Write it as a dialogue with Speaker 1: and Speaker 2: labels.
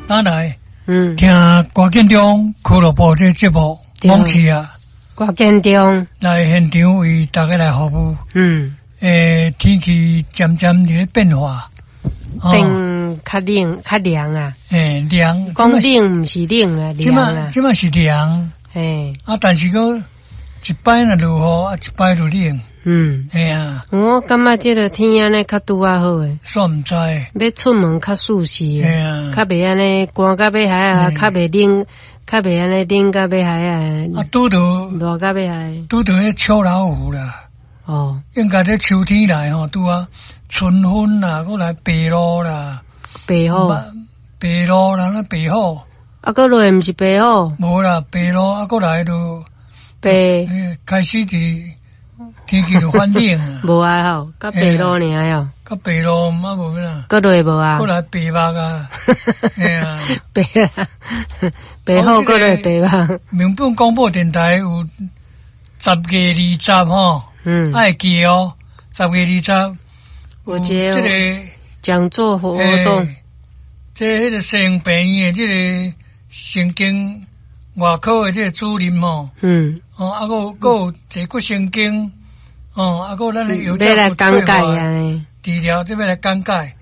Speaker 1: 轉來聽歌建中俱樂部這節目，網誌啊，
Speaker 2: 歌建中
Speaker 1: 來現場為大家來服務。天氣漸漸佇咧變化，
Speaker 2: 變較冷較涼啊。
Speaker 1: 涼。
Speaker 2: 講冷毋是冷啊，涼啊。
Speaker 1: 這擺是涼。啊，但是閣一擺若落雨，啊，一擺就冷。嘿啊。
Speaker 2: 我感覺這个天按呢較拄仔好的。
Speaker 1: 煞毋知。
Speaker 2: 欲出門較舒適。
Speaker 1: 嘿啊。
Speaker 2: 較袂按呢寒甲欲害啊，較袂冷，較袂按呢冷甲欲害啊。
Speaker 1: 啊，拄著
Speaker 2: 熱甲欲害。
Speaker 1: 拄著彼秋老虎啦。應該這秋天來吼，拄啊春分啦，閣來白露啦。
Speaker 2: 白虎。
Speaker 1: 白露啦，那白虎。
Speaker 2: 啊，閣落毋是白虎。
Speaker 1: 無啦，白露啊，閣來就
Speaker 2: 白。
Speaker 1: 開始佇天氣就反冷啊。
Speaker 2: 無啊吼，閣白露爾喲。
Speaker 1: 閣白露啊無啦。
Speaker 2: 閣落無啊。
Speaker 1: 閣來白目啊。嘿啊。
Speaker 2: 白啊，白虎閣落白目。
Speaker 1: 民本廣播電臺有10月20吼。愛記哦，10月20。
Speaker 2: 有這
Speaker 1: 這個
Speaker 2: 講座活動。
Speaker 1: 這彼个西營病院的這个神經外科的這个主任吼。哦，啊，閣有坐骨神經，哦，啊，閣有咱的藥
Speaker 2: 來講解啊。
Speaker 1: 治療，這欲來講解。